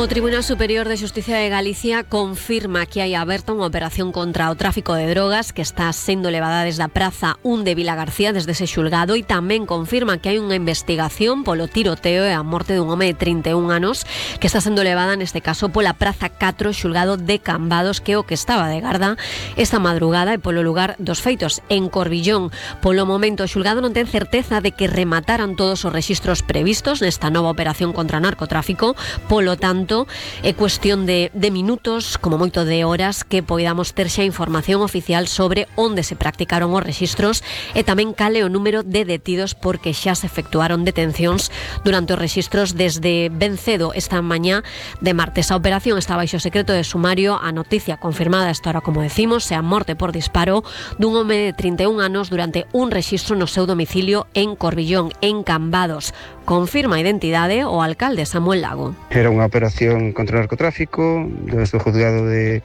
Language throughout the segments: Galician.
O Tribunal Superior de Xusticia de Galicia confirma que hai aberta unha operación contra o tráfico de drogas que está sendo levada desde a Praza 1 de Vilagarcía, desde ese xulgado, e tamén confirma que hai unha investigación polo tiroteo e a morte dun home de 31 anos que está sendo levada neste caso pola Praza 4, xulgado de Cambados, que é o que estaba de garda esta madrugada e polo lugar dos feitos en Corbillón. Polo momento o xulgado non ten certeza de que remataran todos os rexistros previstos nesta nova operación contra o narcotráfico, polo tanto é cuestión de minutos, como moito de horas, que poidamos ter xa información oficial sobre onde se practicaron os rexistros e tamén cale o número de detidos, porque xa se efectuaron detencións durante os rexistros desde ben cedo esta mañá de martes. A operación está baixo secreto de sumario. A noticia confirmada esta hora, como decimos, é a morte por disparo dun home de 31 anos durante un rexistro no seu domicilio en Corbillón, en Cambados. Confirma a identidade o alcalde Samuel Lago. Era unha operación contra o narcotráfico desde o juzgado de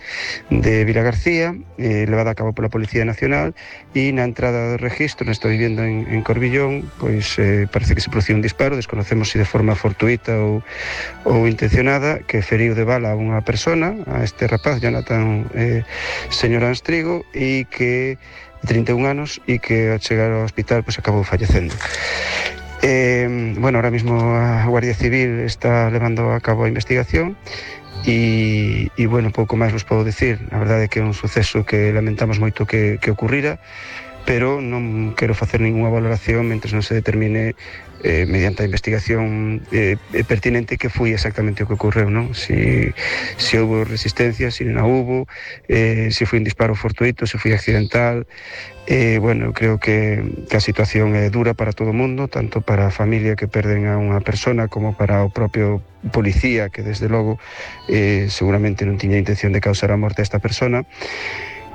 Vilagarcía, levada a cabo pola Policía Nacional, e na entrada do registro, nesta vivenda en Corbillón, pois parece que se produciu un disparo, desconocemos se de forma fortuita ou intencionada, que feriu de bala a unha persona, a este rapaz, Jonathan Señor Anstrigo, e que de 31 anos, e que ao chegar ao hospital pois acabou fallecendo. Ahora mismo a Guardia Civil está levando a cabo a investigación e pouco máis vos podo decir. A verdade é que é un suceso que lamentamos moito que ocurrira, pero non quero facer ninguna valoración mentre non se determine mediante a investigación pertinente que foi exactamente o que ocorreu, non? Se houve resistencia, se non houve, se foi un disparo fortuito, se foi accidental. Creo que a situación é dura para todo o mundo, tanto para a familia que perden a unha persona como para o propio policía, que desde logo seguramente non tiña intención de causar a morte a esta persona.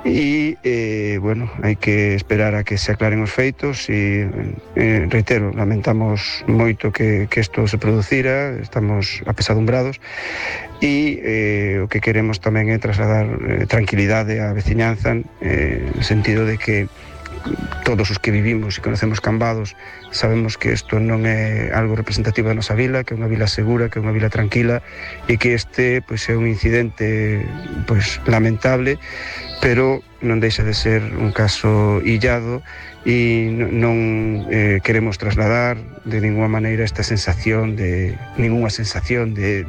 E, hai que esperar a que se aclaren os feitos e, reitero, lamentamos moito que isto se producira, estamos apesadumbrados e o que queremos tamén é trasladar tranquilidade á veciñanza, no sentido de que todos os que vivimos e conocemos Cambados sabemos que isto non é algo representativo da nosa vila, que é unha vila segura, que é unha vila tranquila, e que este pois é un incidente lamentable, pero non deixa de ser un caso illado e non queremos trasladar de ninguna maneira esta sensación de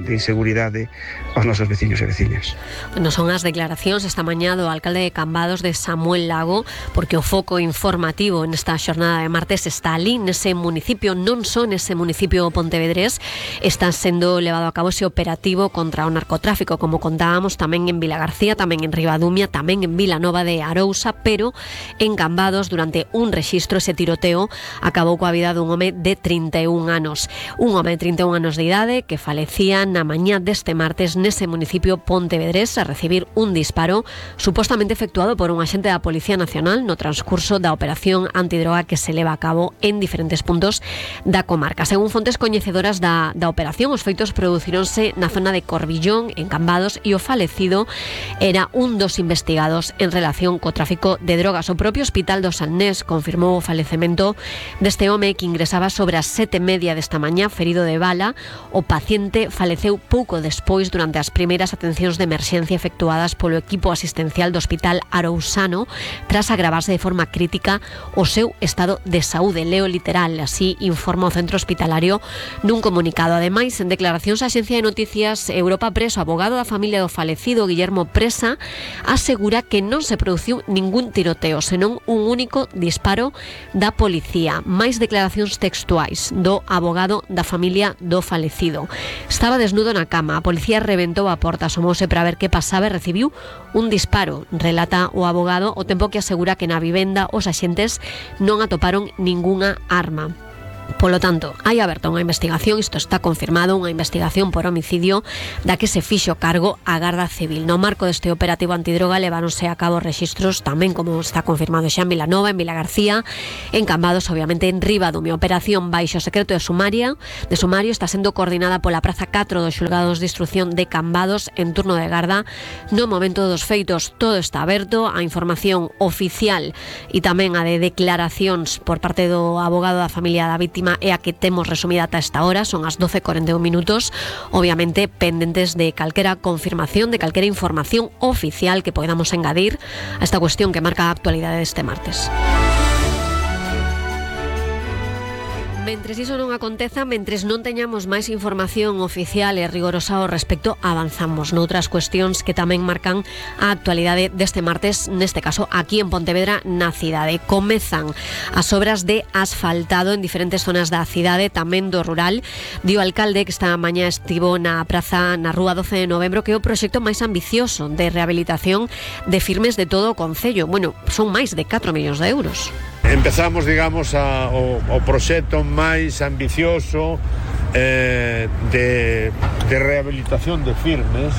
inseguridade aos nosos veciños e veciñas. Non son as declaracións esta mañá do alcalde de Cambados, de Samuel Lago, porque o foco informativo nesta xornada de martes está ali, nese municipio, non só nese municipio pontevedrés, está sendo levado a cabo ese operativo contra o narcotráfico, como contábamos, tamén en Vilagarcía, tamén en Ribadumia, tamén en Vilanova de Arousa, pero en Cambados, durante un rexistro, ese tiroteo acabou coa vida dun home de 31 anos. Un home de 31 anos de idade que falecía na mañá deste martes nese municipio pontevedrés a recibir un disparo supostamente efectuado por un axente da Policía Nacional no transcurso da operación antidroga que se leva a cabo en diferentes puntos da comarca. Según fontes coñecedoras da operación, os feitos producíronse na zona de Corbillón, en Cambados, e o falecido era un dos investigados en relación co tráfico de drogas. O propio Hospital do Salnés confirmou o falecemento deste home que ingresaba sobre as 7:30 desta mañá, ferido de bala. O paciente faleceu pouco despois durante as primeiras atencións de emerxencia efectuadas polo equipo asistencial do Hospital Arousano tras agravarse de forma crítica o seu estado de saúde. Leo literal, así informa o centro hospitalario nun comunicado. Ademais, en declaracións á Axencia de Noticias Europa Press, o abogado da familia do falecido, Guillermo Presa, asegura que non se produciu ningún tiroteo, senón un único disparo da policía. Máis declaracións textuais do abogado da familia do falecido. Estaba desnudo na cama, a policía reventou a porta, asomouse para ver que pasaba e recibiu un disparo, relata o abogado, o tempo que asegura que na vivenda os axentes non atoparon ningunha arma. Polo tanto, hai aberta unha investigación, isto está confirmado, unha investigación por homicidio da que se fixo cargo a Garda Civil. No marco deste operativo antidroga leváronse a cabo rexistros tamén, como está confirmado xa, en Vilanova, en Vilagarcía, en Cambados, obviamente en Ribadumia. Operación baixo secreto de sumario está sendo coordinada pola Praza 4 dos xulgados de instrucción de Cambados en turno de garda. No momento dos feitos todo está aberto, a información oficial e tamén a de declaracións por parte do abogado da familia David marítima é a que temos resumida ata esta hora, son as 12:41 minutos, obviamente pendentes de calquera confirmación, de calquera información oficial que podamos engadir a esta cuestión que marca a actualidade deste martes. Mentres iso non aconteza, mentres non teñamos máis información oficial e rigorosa ao respecto, avanzamos noutras cuestións que tamén marcan a actualidade deste martes, neste caso aquí en Pontevedra, na cidade. Comezan as obras de asfaltado en diferentes zonas da cidade, tamén do rural. Di o alcalde que esta mañá estivo na praza na rúa 12 de novembro, que é o proxecto máis ambicioso de rehabilitación de firmes de todo o concello. Bueno, son máis de 4 millóns de euros. Empezamos, digamos, o proxecto máis ambicioso de rehabilitación de firmes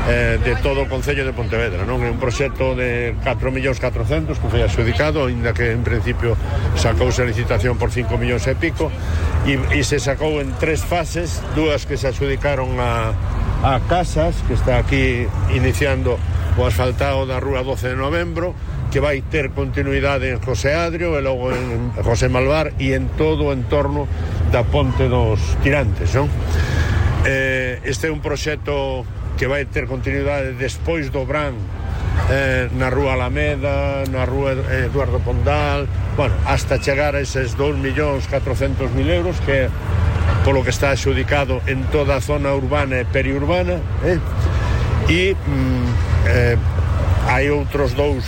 de todo o Concello de Pontevedra, non? É un proxecto de 4.400.000 que foi adxudicado, aínda que en principio sacouse a licitación por 5 millóns e pico, e se sacou en 3 fases, 2 que se adxudicaron a Casas, que está aquí iniciando o asfaltado da rúa 12 de novembro, que vai ter continuidade en José Adrio e logo en José Malvar e en todo o entorno da Ponte dos Tirantes, non? Este é un proxecto que vai ter continuidade despois do Bran, na rúa Alameda, na rúa Eduardo Pondal, bueno, hasta chegar a eses 2.400.000 euros, que é polo que está adxudicado en toda a zona urbana e periurbana, e hai outros 2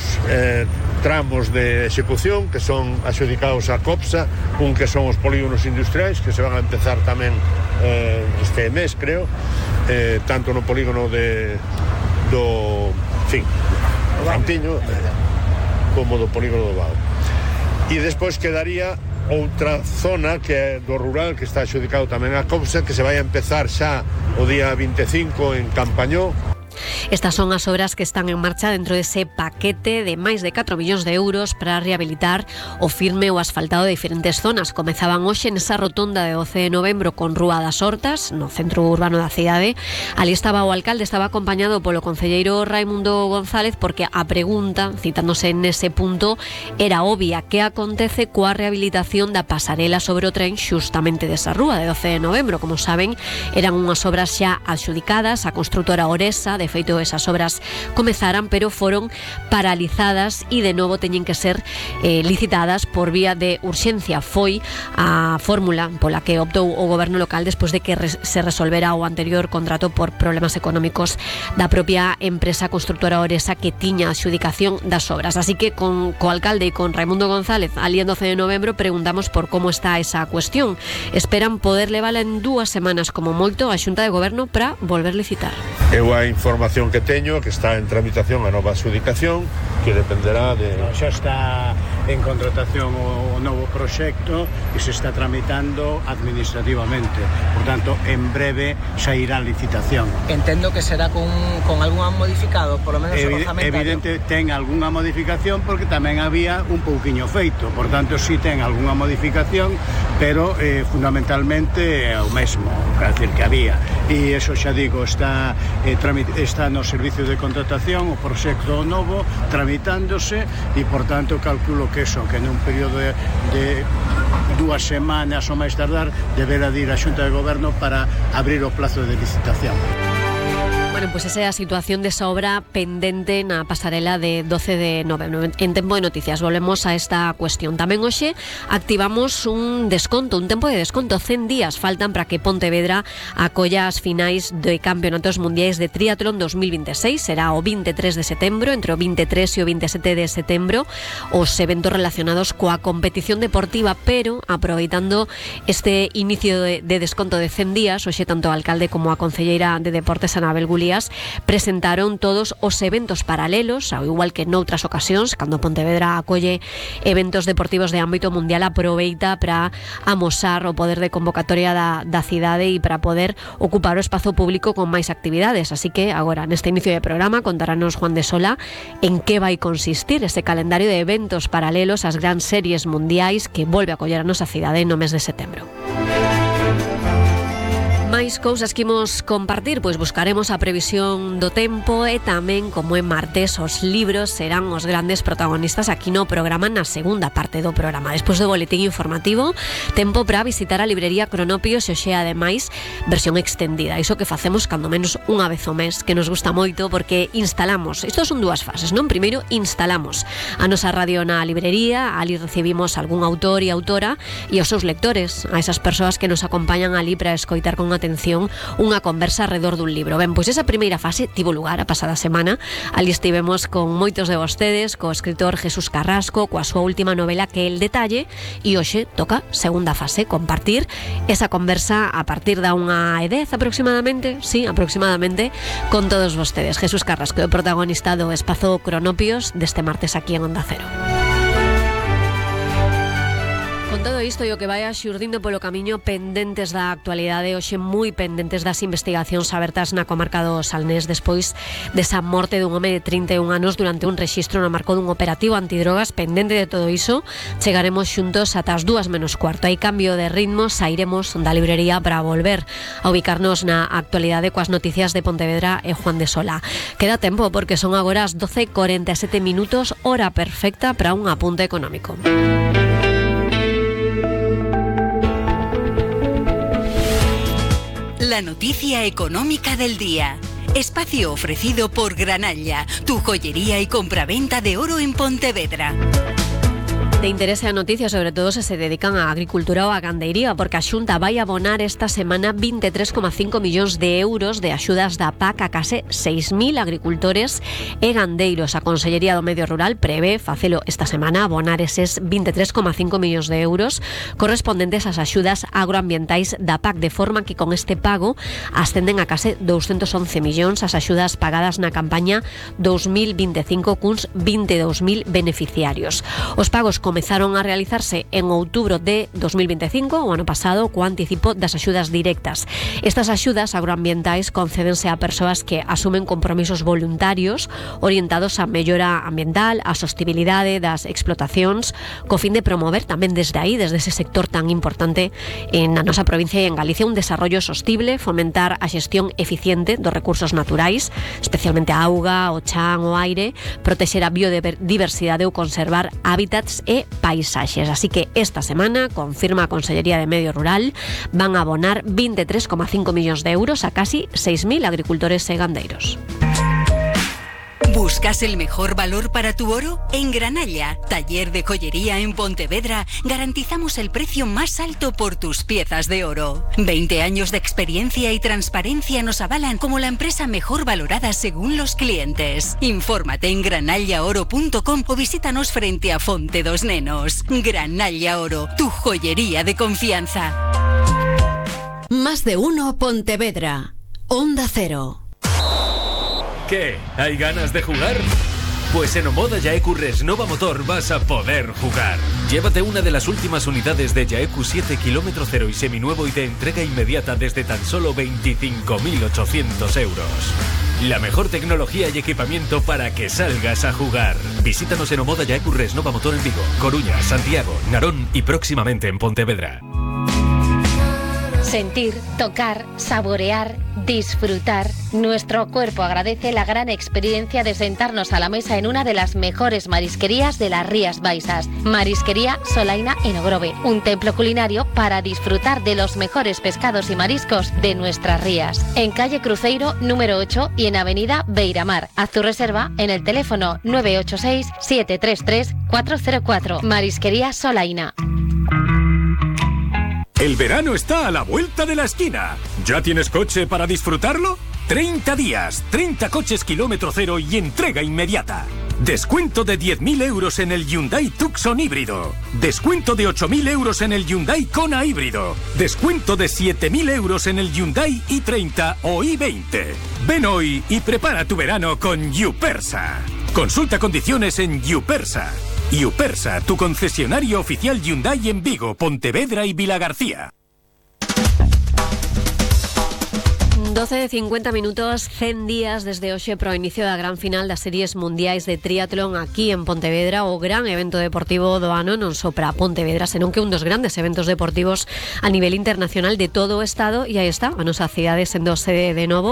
tramos de execución que son adxudicados a COPSA, un que son os polígonos industriais, que se van a empezar tamén este mes, creo, tanto no polígono do Cantiño como do polígono do Vao. E despois quedaría outra zona que é do rural, que está adxudicado tamén a COPSA, que se vai a empezar xa o día 25 en Campañó. Estas son as obras que están en marcha dentro dese paquete de máis de 4 millóns de euros para rehabilitar o firme ou asfaltado de diferentes zonas. Comezaban hoxe nesa rotonda de 12 de novembro con Rúa das Hortas, no centro urbano da cidade. Ali estaba o alcalde, estaba acompañado polo concelleiro Raimundo González, porque a pregunta, citándose nese punto, era obvia: que acontece coa rehabilitación da pasarela sobre o tren xustamente desa rúa de 12 de novembro? Como saben, eran unhas obras xa adxudicadas, a construtora Oresa, de feito esas obras comezaran, pero foron paralizadas e de novo teñen que ser licitadas por vía de urxencia. Foi a fórmula pola que optou o goberno local despois de que se resolvera o anterior contrato por problemas económicos da propia empresa constructora Oresa, que tiña a adxudicación das obras. Así que co alcalde e con Raimundo González ali en 12 de novembro preguntamos por como está esa cuestión. Esperan poder levala en 2 semanas como moito a Xunta de Goberno para volver licitar. Eu a información que teño, que está en tramitación a nova adxudicación, que dependerá de... Xa está en contratación o novo proxecto e se está tramitando administrativamente. Por tanto, en breve xa irá a licitación. Entendo que será con algunha modificado, por lo menos orzamentario. Evidente, ten algunha modificación porque tamén había un pouquiño feito. Por tanto, si ten algunha modificación, pero fundamentalmente é o mesmo, quer decir que había. E eso xa digo, está no servicio de contratación o proxecto novo tramitándose e, por tanto, calculo que eso, que nun período de 2 semanas ou máis tardar deberá de ir a Xunta de Goberno para abrir o plazo de licitación. Bueno, pues esa é a situación desa obra pendente na pasarela de 12 de novembro. En Tempo de Noticias volvemos a esta cuestión. Tamén hoxe activamos un tempo de desconto. 100 días faltan para que Pontevedra acolla as finais de Campeonatos Mundiais de Triatlón 2026. Será o 23 de setembro, entre o 23 e o 27 de setembro, os eventos relacionados coa competición deportiva, pero aproveitando este inicio de desconto de 100 días, hoxe tanto o alcalde como a concelleira de Deportes, Anabel Gulías, presentaron todos os eventos paralelos, ao igual que noutras ocasións, cando Pontevedra acolle eventos deportivos de ámbito mundial, aproveita para amosar o poder de convocatoria da cidade e para poder ocupar o espazo público con máis actividades. Así que agora, neste inicio de programa, contarános Juan de Sola en que vai consistir ese calendario de eventos paralelos ás grandes series mundiais que volve a acoller a nosa cidade no mes de setembro. Máis máis cousas que imos compartir, pois buscaremos a previsión do tempo e tamén, como en martes, os libros serán os grandes protagonistas aquí no programa na segunda parte do programa. Despois do boletín informativo, tempo para visitar a librería Cronopios e hoxe, ademais, versión extendida. Iso que facemos cando menos unha vez ao mes, que nos gusta moito porque instalamos, isto son dúas fases, non? Primeiro, instalamos a nosa radio na librería, ali recibimos algún autor e autora e os seus lectores, a esas persoas que nos acompañan ali para escoitar con atención unha conversa alrededor dun libro. Ben, pois esa primeira fase tivo lugar a pasada semana. Ali estivemos con moitos de vostedes, co escritor Jesús Carrasco, coa súa última novela Que el detalle, e hoxe toca segunda fase, compartir esa conversa a partir da 1:10 aproximadamente, con todos vostedes. Jesús Carrasco é o protagonista do Espazo Cronopios deste martes aquí en Onda Cero. Con todo isto e o que vai xurdindo polo camiño, pendentes da actualidade, hoxe moi pendentes das investigacións abertas na comarca do Salnés despois desa morte dun home de 31 anos durante un rexistro no marco dun operativo antidrogas. Pendente de todo iso, chegaremos xuntos ata as 2:15. Hai cambio de ritmo, sairemos da librería para volver a ubicarnos na actualidade coas noticias de Pontevedra e Juan de Sola. Queda tempo porque son agora as 12:47, hora perfecta para un apunte económico. La noticia económica del día. Espacio ofrecido por Granalla, tu joyería y compraventa de oro en Pontevedra. De interese a noticia, sobre todo se dedican a agricultura ou a gandeiría, porque a Xunta vai abonar esta semana 23,5 millóns de euros de axudas da PAC a case 6.000 agricultores e gandeiros. A Consellería do Medio Rural prevé facelo esta semana, abonar eses 23,5 millóns de euros correspondentes ás axudas agroambientais da PAC, de forma que con este pago ascenden a case 211 millóns as axudas pagadas na campaña 2025 cuns 22.000 beneficiarios. Os pagos comezaron a realizarse en outubro de 2025, o ano pasado, co anticipo das axudas directas. Estas axudas agroambientais concédense a persoas que asumen compromisos voluntarios orientados á mellora ambiental, á sostibilidade das explotacións, co fin de promover tamén desde aí, desde ese sector tan importante na nosa provincia e en Galicia, un desarrollo sostible, fomentar a xestión eficiente dos recursos naturais, especialmente a auga, o chan, o aire, protexer a biodiversidade ou conservar hábitats e paisaxes. Así que esta semana, confirma a Consellería de Medio Rural, van a abonar 23,5 millóns de euros a casi 6.000 agricultores e gandeiros. ¿Buscas el mejor valor para tu oro? En Granalla, taller de joyería en Pontevedra, garantizamos el precio más alto por tus piezas de oro. 20 años de experiencia y transparencia nos avalan como la empresa mejor valorada según los clientes. Infórmate en granallaoro.com o visítanos frente a Fonte dos Nenos. Granalla Oro, tu joyería de confianza. Más de uno Pontevedra. Onda Cero. ¿Qué? ¿Hay ganas de jugar? Pues en Omoda Yaeku Resnova Motor vas a poder jugar. Llévate una de las últimas unidades de Yaeku 7 km 0 y seminuevo y de entrega inmediata desde tan solo 25.800 euros. La mejor tecnología y equipamiento para que salgas a jugar. Visítanos en Omoda Yaeku Resnova Motor en Vigo, Coruña, Santiago, Narón y próximamente en Pontevedra. Sentir, tocar, saborear, disfrutar. Nuestro cuerpo agradece la gran experiencia de sentarnos a la mesa en una de las mejores marisquerías de las Rías Baixas. Marisquería Solaina en Ogrove, un templo culinario para disfrutar de los mejores pescados y mariscos de nuestras rías. En calle Cruceiro número 8 y en avenida Beiramar. Haz tu reserva en el teléfono 986-733-404. Marisquería Solaina. El verano está a la vuelta de la esquina. ¿Ya tienes coche para disfrutarlo? 30 días, 30 coches kilómetro cero y entrega inmediata. Descuento de 10.000 euros en el Hyundai Tucson híbrido. Descuento de 8.000 euros en el Hyundai Kona híbrido. Descuento de 7.000 euros en el Hyundai i30 o i20. Ven hoy y prepara tu verano con Yupersa. Consulta condiciones en Yupersa. Yupersa, tu concesionario oficial Hyundai en Vigo, Pontevedra y Vilagarcía. 12:50 minutos, 100 días desde hoxe pro inicio da gran final das series mundiais de triatlón aquí en Pontevedra, o gran evento deportivo do ano non só para Pontevedra, senón que un dos grandes eventos deportivos a nivel internacional de todo o estado, e aí está a nosa cidade sendo sede de novo